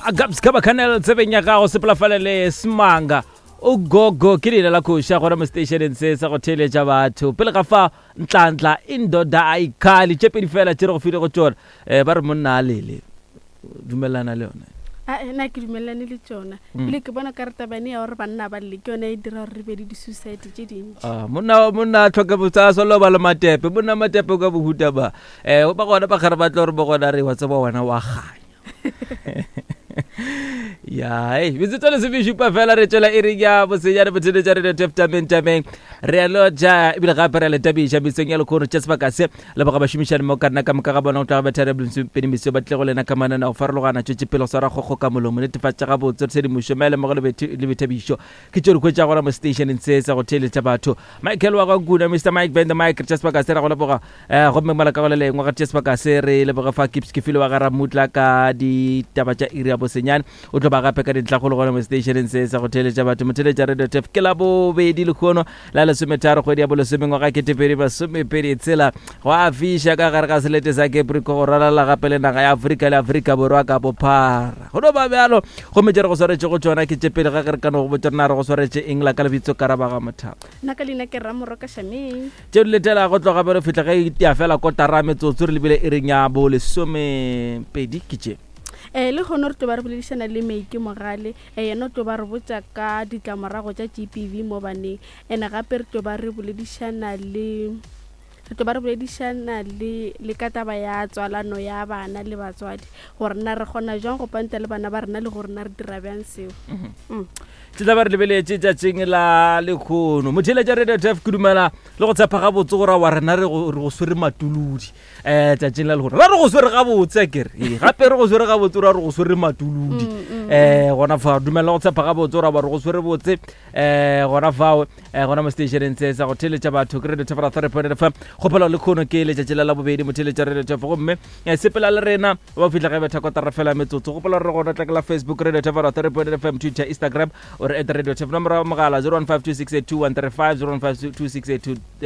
Gabs ka bakanel tsebeng ya gago sepelafale le smanga ugogo ke leina la koša gona mo stationeng se sa go theeletša batho pele ga fa ntlantla indoda a ikhali tše pedi fela tše re go file go tšona um ba re monna a lele dumelana le yone Ae, nna ke dumelelane le tšona ebile ke bona ka re tabane ya gore banna ba lle ke yone e dira gore re be le di-suicide tše dintši Ah, monna monna a tlhoke botsa solo ba le matepe monna matepe ka bohuta ba um ba gona ba gare ba tlo gore ba gona re wa tseba wena wa ganya ya ei metsotso lesomešupa fela re tšwela e reng ya bosenyane botheletša re tef tameng tameng re a lotša ebile gape re a le tabiša mesong ya lekgono tša sebaka se leboga bašomišane mo ka nna ka moka ga bona go tloga bethare pedi meso ba tle go lena ka manana go farologana tšwetše pele go swara kgokgo ka molomo netefatša gabotse tshedimošo maele mmogo le boithabišo ke tšeo di hwetša gona mo stationeng se sa go theeletša batho michael wa gankuna mr mike band mike re tša sebaka se ra go leboga um gomme mola ka go le lengwe ga tša sebaka se re leboge fa kips ke file wa ga ramutla ka ditaba tša iri ya bosenyane o tlo ba gape ka dintlhakgolo gona mo stationeng se sa go theeletša batho motheeletša radio tef ke la bobedi lekgono la lesometharo kgwedi ya bolesome ngwaga ketepedi masomepedi tshela go a fiša ka gare ga selete sa caprico go ralala gape le naga ya afrika le afrika borwa ka bophara go no ba bjalo gomme tše re go swaretše go tšona ke tše pele ga ge re ka no go botša rena re go swaretše eng la ka lebitso karabaga mothapa nna ka leina ke ramoroka shameng tše di letela go tloga bjalo fihla ge e tia fela kotara metsotso re lebile e reng ya bo lesomepedi ke tše um le kgono re tlo ba re boledišana le meike mogale um yena o tlo ba re botša ka ditlamorago tša g p v mo baneng and gape re tlo ba re boledišana le re tlo ba re boledišana le le ka taba ya tswalano ya bana le batswadi gore na re kgona jwang go panta le bana ba rena le gore na re dira bjang seo mm. Tše tla ba re lebeletše tšatšing la lekgono motheeletša radio tf ke dumela le go tshepa gabotse gore wa rena re go re go swere matuludi um tšatšing la lekgono ra re go swere gabotse a kere Ee, gape re go swere gabotse ra re go swere matuludi um gona fa dumela go tshepa gabotse gore wa re go swere botse um gona fao um gona mo stationeng se sa go theeletša batho ke radio tf ra 3 fm kgopelo le kgono ke letšatši la labobedi motheeletša radio tf gomme eh, sepela le rena ba fihla ge betha kotara fela metsotso gopola gore gona tla ke la facebook radio tf ra 3 fm twitter instagram o re at radio tf nomoro ya mogala 0152682135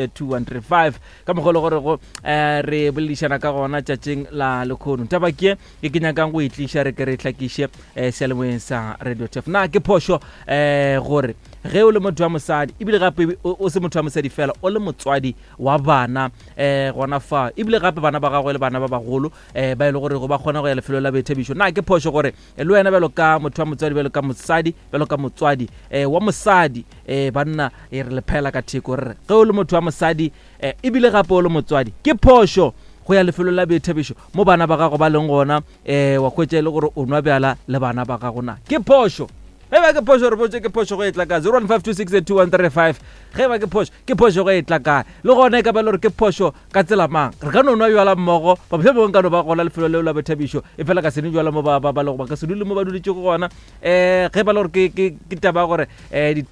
0152682135 ka mokgwa e le gore go um re boledišana ka gona tšatšing la lekgono taba ke e ke nyakang go e tliša re ke re hlakiše um seyalemoyeng sa radio tef na ke phošo um gore ge o le motho wa mosadi ebile gape o se motho wa mosadi fela o le motswadi wa bana um gona fa ebile gape bana ba gagwe le bana ba bagolo um ba e le gore go ba kgona go ya lefelo la boithabišo na ke phošo gore le wena bjalo ka motho wa motswadi bjalo ka mosadi bjalo ka motswadi um wa mosadi um banna e re le phela ka theko re re ge o le motho wa mosadi um ebile gape o le motswadi ke phošo go ya lefelong la boithabišo mo bana ba gago ba leng gona um wa hwetša e le gore o nwa bjala le bana ba gago na ke phošo ge ba ke phošo re botse ke phošo go e tla ka 0152682135 ge ba ke phošo ke phošo go e tla kae le gona e ka ba le gore ke phošo ka tsela mang re ka no nwa bjala mmogo ba mohlomongwe nka no ba gona lefelo leo la boithabišo e fela ka se nwe bjala mo ba ba lego ba ka se dule mo ba duletšego gona um ge ba le gore ke taba ya gore um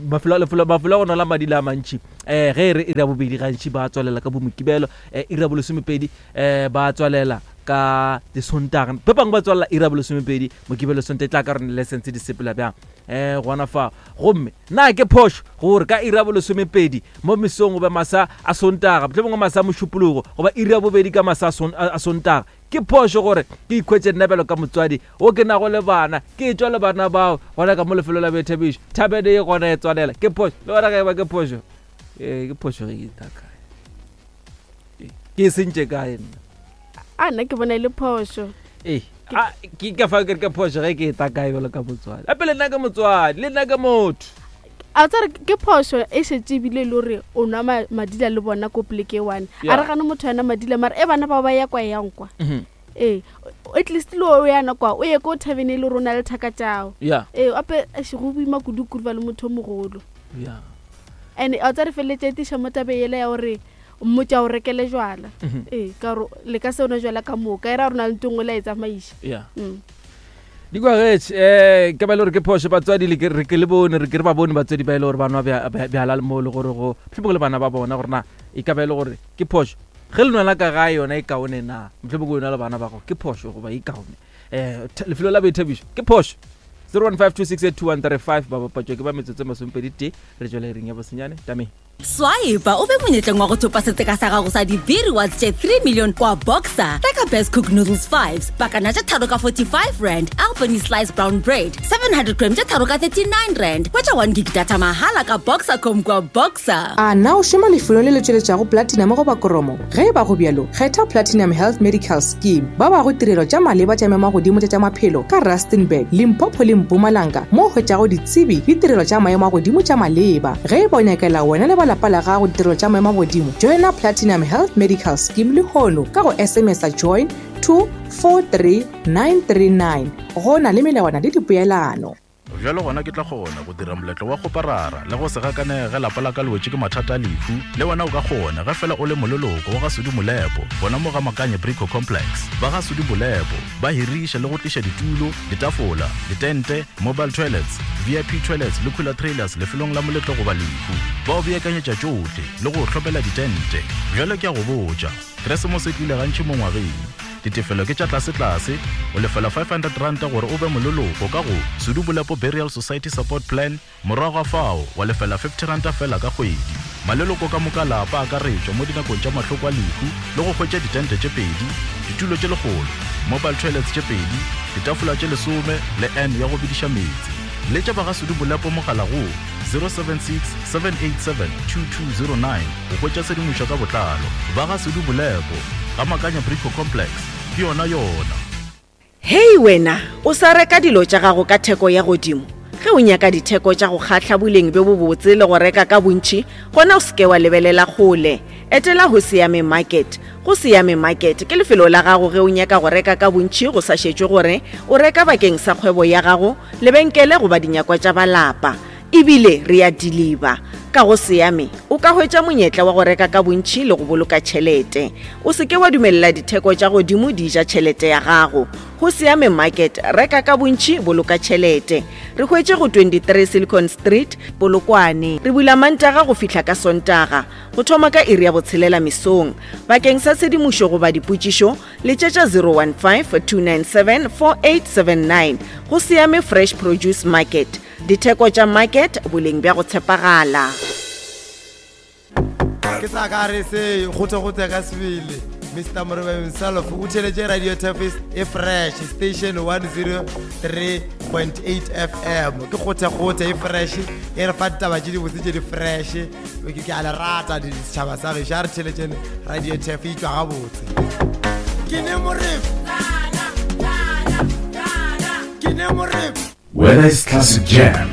mafelo a go nola madila a mantši um ge e re iri ya bobedi gantši ba tswalela ka bomokibelo um iri ya bolesomepedi um ba tswalela ka disontaga ba bangwe ba tswalela iri ya bolesomepedi mokibelo sonta e tla ka rone license di sepela bjang um gona fa gomme na ke phošo gore ka iri ya bolesomepedi mo mesong goba masa a sontaga mohlomongwe masa a mošupologo goba iri ya bobedi ka masa a sontaga Ke phošo gore ke ikhwetše nna bjalo ka motswadi wo ke nago le bana, ke etšwa le bana bao gona ka mo lefelong la boithabišo. Thabene ye gona e tswalela. Ke phošo. Le gona ge e ba ke phošo. Ee, ke phošo ge ke tla kae. Ke e sentše kae nna? A nna ke bona e le phošo. Ee, a ke ka fa ke re ke phošo ge ke e tla kae bjalo ka motswadi. Gape le nna ke motswadi, le nna ke motho. A tsare ke phošo e šetše ebile e le gore o nwa madila le bona ko poleke e one. A re gane motho yena madila mara e bana bao ba ya kwa e yang kwa. Ee, at least le o yana kwa o ye ko tavern e le gore o na le thaka tšao. Ee, ape eish, go boima kudu-kudu ba le motho o mogolo. And a tsare feleletša e tiša mo tabe yela ya gore mmotša o rekele jwala. Ee, ka gore le ka se o nwa jwala ka moka e ra gore o na le ntho e nngwe le a e tsamaiša. Di kwagetše um ke ba e le gore ke phošo batswadi le ke re ke le bone re ke re ba bone batswadi ba e le gore ba nwa bjala mo le gore go mohlomongwe le bana ba bona gore na e ka ba e le gore ke phošo ge le nwela ka gae yona e kaone na mohlomongwe o nwa le bana ba gago ke phošo goba e kaone um lefelo la boithabišo ke phošo 0152682135 ba bapatšwa ke ba metsotso e masomepedi tee re tšwela iring ya bosenyane tameng. Swipa o be monyetleng wa go thopa setseka sa gago sa di-B rewards tše 3 million kwa Boxer. Reka Best Cook Noodles 5s, pakana tše tharo ka 45 rand, Albany Slice Brown Bread, 700 gram tše tharo ka 39 rand. Hwetša 1 gig data mahala ka Boxercom kwa Boxer. A na o šoma lefelong le le tšweletšago platinum goba kromo? Ge e ba go bjalo, kgetha Platinum Health Medical Scheme. Ba bago tirelo tša maleba tša maemagodimo tša tša maphelo ka Rustenburg, Limpopo le Mpumalanga mo o hwetšago ditsebi le tirelo tša maemo a godimo tša maleba. Ge e ba o nyakela wena le ba lapa la gago ditirelo tša maemo a godimo, joina Platinum Health Medical Scheme lehono ka go SMS-a join to 43939. Go na le melawana le dipoelano. Bjalo gona ke tla kgona go dira moletlo wa kgoparara le go se gakanege ge lapa la ka le wetše ke mathata a lehu. Le wena o ka kgona ge fela o le moleloko wa ga Sudi Molepo gona mo ga Makanye Brico Complex. Ba ga Sudi Molepo ba hiriša le go tliša ditulo, ditafola, ditente, mobile toilets, VIP toilets le cooler trailers lefelong la moletlo goba lehu. Ba o beakanyetša tšohle le go o hlomela ditente. Bjalo ke a go botša, Keresemose e tlile gantši mo ngwageng. Ditefelo ke tša tlasetlase, o lefela R500 gore o be moleloko ka go Sudu Bolepo Burial Society Support Plan, morago ga fao wa lefela R50 feela ka kgwedi. Maleloko ka moka a lapa a akaretšwa mo dinakong tša mahloko a lehu le go hwetša ditente tše pedi, ditulo tše lekgolo, mobile toilets tše pedi, ditafola tše lesome le urn ya go bediša meetse. Letša ba ga Sudu Bolepo mogala go 076 787 2209 go hwetša tshedimošo ka botlalo. Ba ga Sudu Bolepo. Ga Makanya Brico Complex, ke yona yona. Hei wena, o sa reka dilo tša gago ka theko ya godimo? Ge o nyaka ditheko tša go kgahla, boleng bjo bobotse le go reka ka bontši, gona o se ke wa lebelela kgole. Etela Hosiame Market. Gosiame Market ke lefelo la gago ge o nyaka go reka ka bontši go sa šetšwe gore o reka bakeng sa kgwebo ya gago, lebenkele goba dinyakwa tša ba lapa. E bile re a diliba. Ka go Seame, o ka hwetša monyetla wa go reka ka bontši le go boloka tšhelete. O se ke wa dumelela ditheko tša godimo di ja tšhelete ya gago. Go Seame Market, reka ka bontši, boloka tšhelete. Re hwetše go 23 Silicon Street, Polokwane. Re bula Mantaga go fihla ka Sontaga, go thoma ka iri ya botshelela mesong. Bakeng sa tshedimošo goba dipotšišo, Letšetša 015-297-4879. Go Seame Fresh Produce Market. Ditheko tša market, boleng bja go tshepagala. Ke sa ka re se gote-gote ka sebele. Mr. Morebe himself o theletše Radio Tafis e fresh station 103.8 FM. Ke gote-gote e fresh e re fa ditaba tše dibotse tše di fresh. Ke a le rata setšhaba sa gešo a re theletšene Radio Taf e tšwa gabotse. Ke ne Morebe. Ke ne Morebe. Whether it's classic jam,